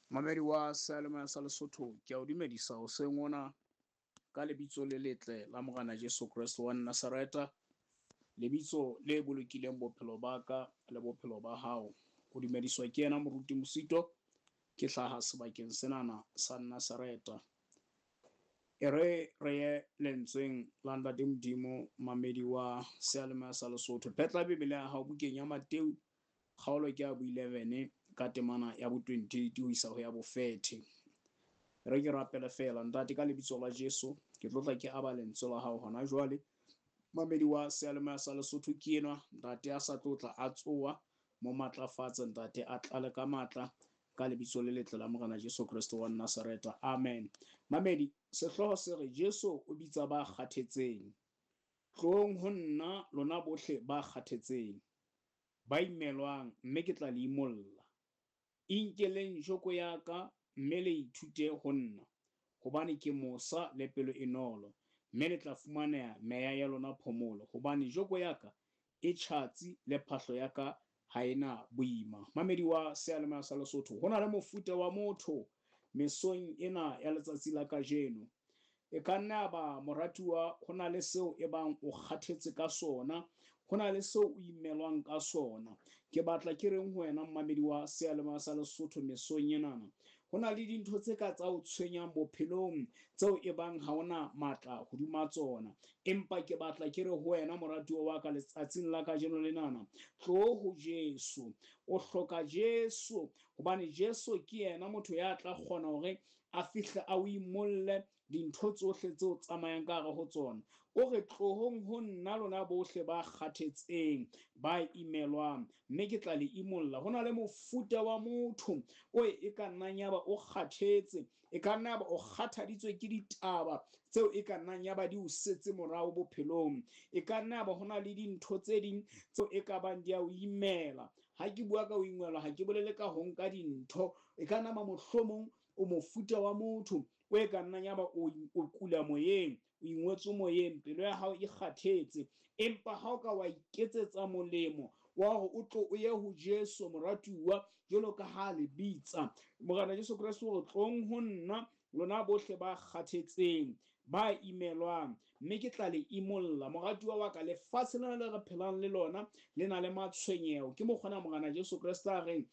Mamedi wa seyalemoya sa Lesotho, ke a o dumedisa hoseng hona ka lebitso le letle la Morena Jesu Kreste wa Nazareta, lebitso le bolokileng bophelo ba ka le bophelo ba hao. O dumediswa ke yena Moruti Mosito, ke hlaha sebakeng senana sa Nazareta. E re re ye lentsweng la Ntate Modimo, mamedi wa seyalemoya sa Lesotho. Phetla Bibele ya hao bukeng ya Mateu Kgaolo ke ya bo-11 ka temana ya bo-28 ho isa ho ya bo-30. Re ke rapele feela, Ntate, ka lebitso la Jesu, ke tlo tla ke aba lentswe la hao hona jwale. Mamedi wa seyalemoya sa Lesotho ke enwa, Ntate, a sa tlo tla a tsoa, mo matlafatse, Ntate, a tlale ka matla, ka lebitso le letle la Morena Jesu Kreste wa Nazareta. Amen. Mamedi, sehlooho se re Jesu o bitsa ba kgathetseng. Tloong ho nna lona bohle ba kgathetseng. Ba imelwang, mme ke tla le imolla. Inkeleng joko ya ka, mme le ithute ho nna, hobane ke mosa le pelo e nolo, mme le tla fumaneha meya ya lona phomolo, hobane joko ya ka e tjhatsi le phahlo ya ka ha e na boima. Mamedi wa seyalemoya sa Lesotho, ho na le mofuta wa motho mesong ena ya letsatsi la kajeno. E ka nna ya ba moratuwa ho na le seo e bang o kgathetse ka sona, ho na le seo o imelwang ka sona. Ke batla ke reng ho wena mmamedi wa seyalemoya sa Lesotho mesong enana, ho na le dintho tse ka tsa o tshwenyang bophelong tseo e bang ha o na matla hodima tsona. Empa ke batla ke re ho wena moratuwa wa ka letsatsing la kajeno lenana, tloo ho Jesu. O hloka Jesu hobane Jesu ke yena motho ya tla kgona hore a fihle a o imolle dintho tsohle tse o tsamayang ka hare ho tsona. O re, Tlohong ho nna lona bohle ba kgathetseng, ba imelwang, mme ke tla le imolla. Ho na le mofuta wa motho o e ka nnang yaba o kgathetse, e ka nna yaba o kgathaditswe ke ditaba tseo e ka nnang yaba di o setse morao bophelong. E ka nna yaba ho na le dintho tse ding tseo e ka bang di a o imela. Ha ke bua ka ho ingelwa, ha ke bolele ka ho nka dintho. E ka nama mohlomong o mofuta wa motho o e ka nnang yaba o, o kula moyeng, o ingwetswe moyeng, pelo ya hao e kgathetse. Empa ha o ka wa iketsetsa molemo wa hore o tlo o ye ho Jesu moratuwa, jwalo ka ha le bitsa. Morena Jesu Kreste o re, tlong ho nna lona bohle ba kgathetseng, ba imelwang, mme ke tla le imolla. Moratuwa wa ka, lefatshe lena le re phelang le lona le na le matshwenyeho. Ke mokgona Morena Jesu Kreste a reng,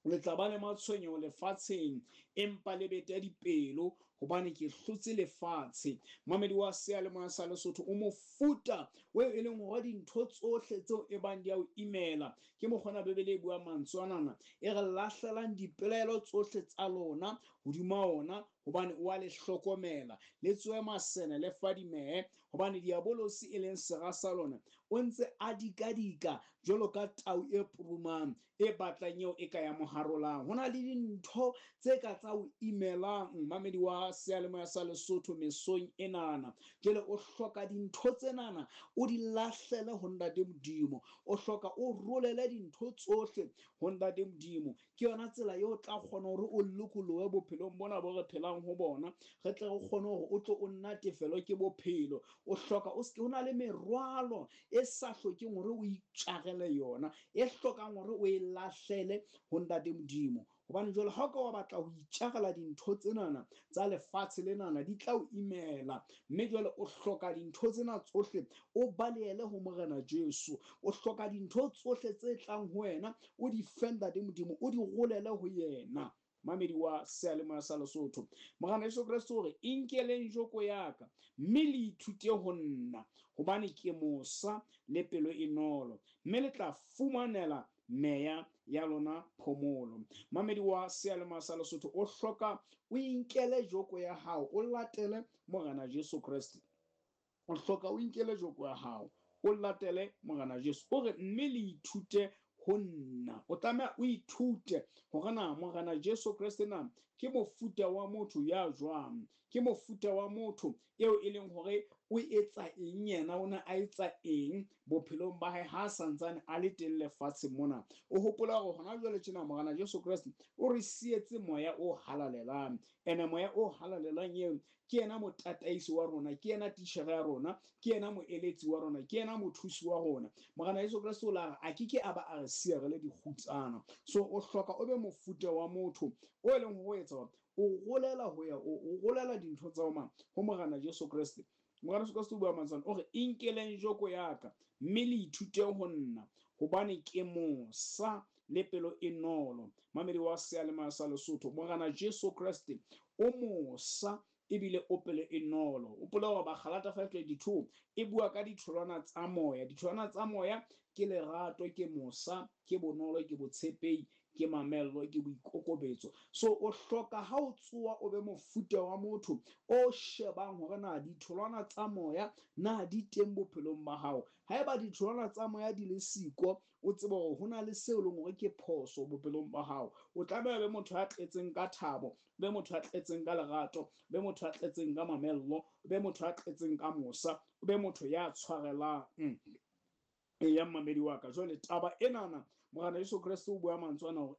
le tla ba le matshwenyeho lefatsheng, empa le bete dipelo, hobane ke hlotse lefatshe. Mamedi wa seyalemoya sa Lesotho, o mofuta o e leng hore dintho tsohle tseo e bang di a o imela. Ke mokgona Bibele e buang mantswe anana, e re lahlelang dipelaelo tsohle tsa lona hodima ona, hobane o a le hlokomela. Le tsoe masene, le fadimehe, hobane diabolosi e leng sera sa lona o ntse a dikadika jwalo ka tau e purumang e batlang eo e ka ya mo harolang. Ho na le dintho tse ka tsa o imelang, mamedi wa seyalemoya sa Lesotho mesong enana. Jwale o hloka dintho tsenana o di lahlele ho Ntate Modimo. O hloka o rolele dintho tsohle ho Ntate Modimo. Ke yona tsela eo o tla kgona hore o lokolohe bophelong bona bo re phelang ho bona, re tle re kgone hore o tlo o natefelwe ke bophelo. O hloka o seke, ho na le merwalo e sa hlokeng hore o itjarele yona, e hlokang hore o e lahlele ho Ntate Modimo. Hobane jwale ha o ka wa batla ho itjarela dintho tsenana tsa lefatshe lenana, di tla o imela. Mme jwale o hloka dintho tsena tsohle o balehele ho Morena Jesu. O hloka dintho tsohle tse tlang ho wena o di fe Ntate Modimo, o di rolele ho yena. Mamedi wa seyalemoya sa Lesotho, Morena Jesu Kreste o re, Inkeleng joko ya ka, mme le ithute ho nna, hobane ke mosa le pelo e nolo, mme le tla fumanela meya ya lona phomolo. Mamedi wa seyalemoya sa Lesotho, o hloka o inkele joko ya hao, o latele Morena Jesu Kreste. O hloka o inkele joko ya hao, o latele Morena Jesu. O re, mme le ithute ho nna. O tlameha o ithute hore na Morena Jesu Kreste na ke mofuta wa motho ya jwang, ke mofuta wa motho eo e leng hore o etsa eng yena, o ne a etsa eng bophelong ba hae ha santsane a le teng lefatsheng mona. O hopola hore hona jwale tjena Morena Jesu Kreste o re sietse moya o halalelang, ene moya o halalelang eo ke yena motataisi wa rona, ke yena titjhere ya rona, ke yena moeletsi wa rona, ke yena mothusi wa rona. Morena Jesu Kreste o la re a ke ke a ba a re siya re le dikgutsana. So o hloka o be mofuta wa motho o e leng ho etsa hore o rolela ho ya o rolela dintho tsa mang ho Morena Jesu Kreste. Morena Jesu Kreste o bua mantswe o re inkeleng joko ya ka mme le ithute ho nna, hobane ke mosa le pelo e nolo. Mamedi wa seyalemoya sa Lesotho, Morena Jesu Kreste o mosa ebile o pelo e nolo. O pola hore Bagalata 5:22 e bua ka ditholwana tsa moya. Ditholwana tsa moya ke lerato, ke mosa, ke bonolo, ke botshepehi, ke mamello, ke boikokobetso. So o hloka ha o tsoa o be mofuta wa motho o shebang hore na ditholwana tsa moya na di teng bophelong ba hao. Haeba ditholwana tsa moya di le siko, o tsebe hore ho na le seo leng hore ke phoso bophelong ba hao. O tlameha be motho ya tletseng ka thabo, be motho ya tletseng ka lerato, be motho ya tletseng ka mamello, be motho ya tletseng ka mosa, be motho ya tshwarelang. Ya mmamedi wa ka, jwale taba enana Morena Jesu Kreste o bua mantswe ana hore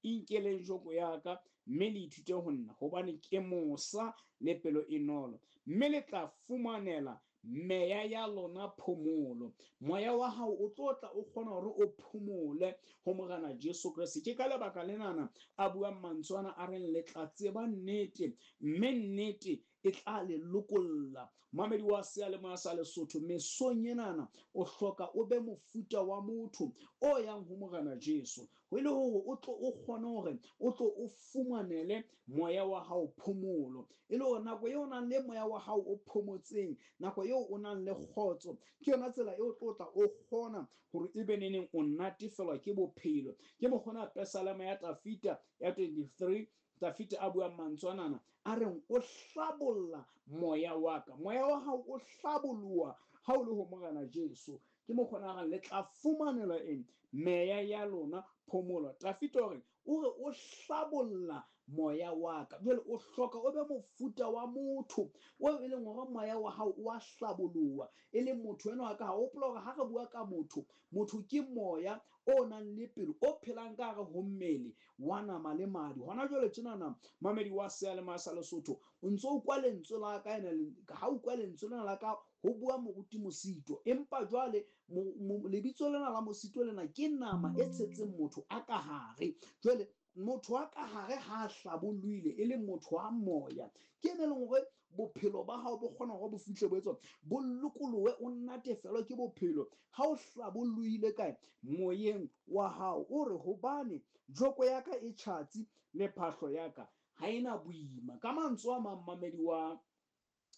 inkeleng joko ya ka mme le ithute ho nna, hobane ke mosa le pelo e nolo, mme le tla fumanela meya ya lona phomolo. Moya wa hao o tlo tla o kgona hore o phomole ho Morena Jesu Kreste. Ke ka lebaka lenana a buang mantswe ana a reng le tla tseba nnete, mme nnete e tla le lokolla. Mamedi wa seyalemoya sa Lesotho, mesong enana o hloka o be mofuta wa motho o yang ho Morena Jesu, ho ile hore o tlo o kgone hore o tlo o fumanele moya wa hao phomolo. E le hore nako eo o nang le moya wa hao o phomotseng, nako eo o nang le kgotso, ke yona tsela eo tlo tla o kgona hore ebe neneng o natefelwa ke bophelo. Ke mokgona Pesalema ya Tafita ya 23, Tafita a buang mantswe anana a reng o hlabolla moya wa ka. Moya wa hao o hlaboloha ha o le ho Morena Jesu. Ke mokgona a reng le tla fumanela eng? Meya ya lona phomolo. Tafita o re o hlabolla moya wa ka. Jwale o hloka o be mofuta wa motho o e leng hore moya wa hao o a hlaboloha, e leng motho enwa wa ka. Ha o hopola hore ha re bua ka motho, motho ke moya o nang le pelo, o phelang ka hare ho mmele wa nama le madi. Hona jwale tjenana mamedi wa seyalemoya sa Lesotho, o ntso utlwa lentswe la ka, ene ha utlwa lentswe lena la ka ho bua moruti Mosito, empa jwale lebitso lena la Mosito lena ke nama e tshetseng motho a ka hare. Jwale motho a ka hare ha hlabollohile e le motho wa moya, ke ene leng hore bophelo ba hao bo kgona hore bo fihle bo etswa bo lokolohe, o natefelwe ke bophelo ha o hlabollohile kae moyeng wa hao. O re hobane joko ya ka e tjhatsi le phahlo ya ka ha ena boima. Ka mantswe a mang, mamedi wa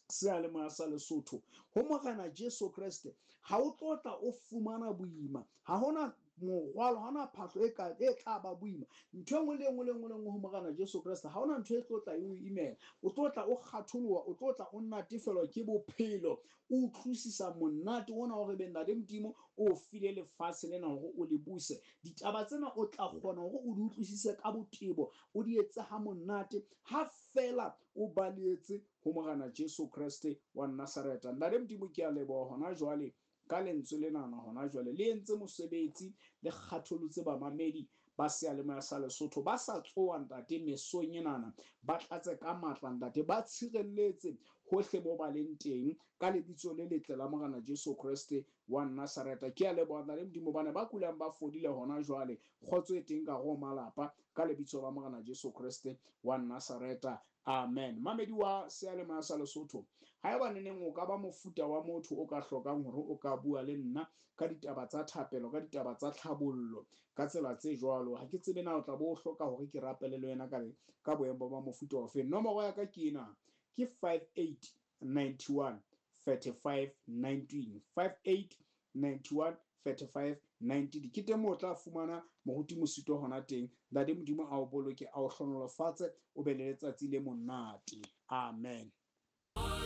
seyalemoya sa Lesotho, ho Morena Jesu Kreste ha o tlo tla o fumana boima. Ha hona morwalo, ha hona phahlo e tla ba boima. Ntho e nngwe le nngwe le nngwe le nngwe ho Morena Jesu Kreste, ha hona ntho e tlo tla e o imela. O tlo tla o kgatholoha, o tlo tla o natefelwa ke bophelo, o utlwisisa monate ona hore be Ntate Modimo o file lefatshe lena hore o le buse. Ditaba tsena o tla kgona hore o di utlwisise ka botebo, o di etse ha monate ha fela o baletse ho Morena Jesu Kreste wa Nazareta. Ntate Modimo, ke a leboha hona jwale ka lentswe lenana hona jwale le entse mosebetsi, le kgatholotse bamamedi ba seyalemoya sa Lesotho ba sa tsoa ntate mesong enana, ba tlatse ka matla ntate, ba tshireletse hohle mo ba leng teng ka lebitso le letle la Morena Jesu Kreste wa Nazareta. Ke a leboha ntate Modimo, bana ba kulang ba fodile hona jwale, kgotso e teng ka ho malapa ka lebitso la Morena Jesu Kreste wa Nazareta. Amen. Mamedi wa seyalemoya sa Lesotho, haeba neneng o ka ba mofuta wa motho o ka hlokang hore o ka bua le nna ka ditaba tsa thapelo, ka ditaba tsa tlhabollo, ka tsela tse jwalo, ha ke tsebe na o tla bo o hloka hore ke rapele le wena ka boemo ba mofuta ofe. Nomoro ya ka ke ena, ke 58 91 35 19, 58 91 35 19. Ke teng moo o tla fumana moruti Mosito hona teng. Ntate Modimo a o boloke, a o hlonolofatse, o be le letsatsi le monate. Amen.